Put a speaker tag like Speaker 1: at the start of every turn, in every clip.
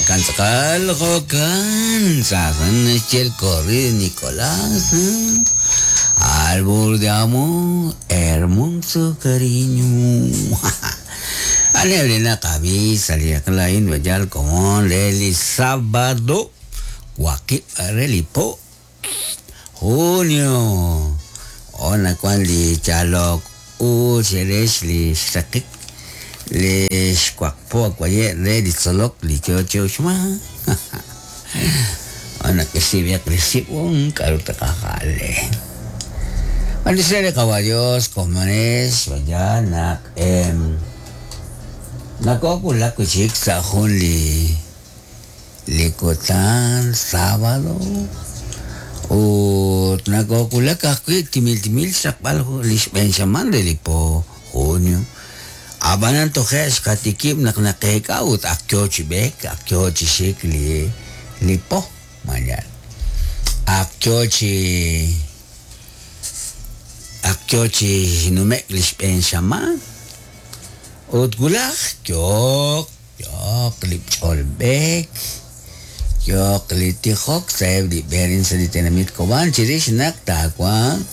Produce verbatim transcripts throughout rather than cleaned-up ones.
Speaker 1: Jo'kan tz'aqal, jo'kan sasan naxye el corrido Nicolás, ¿eh? Árbol de amor, hermoso cariño. Alebre na kabisa liaklain bajal komon leli sábado waqib relipo junio ona kwan li chalok u cherex li xraqik li xwaqpo kwaye re li tzolok li chocho xma ona kisibiak li sibun k'aru taqajale. Bendecirle caballos, comones, vaya, nak, em, nakokula kuchik sa jun li li kutan sábado ut nakokulak ajwi' timil timil xraqb'al li xb'een xamaan re li po junio. Ab'anan toje' xqatikib' naq naqeek'a ut ak yoo chi b'eek, ak yoo chi xik li li po mañana. Ak yoo chi ak yoo chi numek li xb'een xamaan ut wulaj yooq yooq li ch'olb'eek yooq li tijok sa'eb' li b'eerin sa' li tenamit Cobán chirix naq taawanq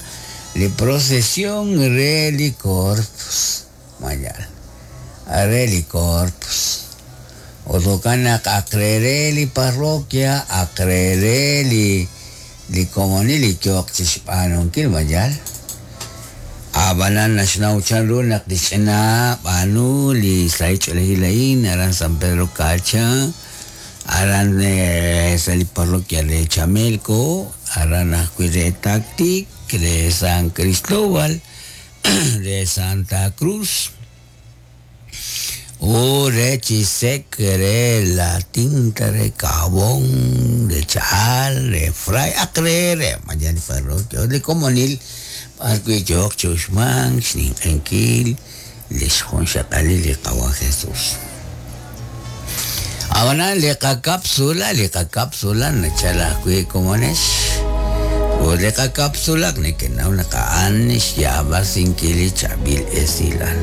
Speaker 1: li procesión re li Corpus mañana re li Corpus ut jo'kan naq ak re re li parroquia ak re re li li komonil li yooq chi xb'aanunkil mañana. Ab'anan naxnaw chanru naq li ch'ina b'aanu li sahil ch'oolejil a'in aran San Pedro Cacha, aran sa' li parroquia re Chamelco, aran ajwi' re Tactic, re San Cristóbal, re Santa Cruz, u re Chisec, re La Tinta, re Cabón, re Chal, re Fray, ak re re mañana parroquia, li komonil b'arwi' yooq chi uxmank xninq'enkil li xjunxaqalil li Qawa Jesús. Ab'anan li qakapsula, li qakapsula nachal ajwi' komonex. Ut li qakapsula nekenaw naq a'an xyaab'asinkil li chaab'il esilal.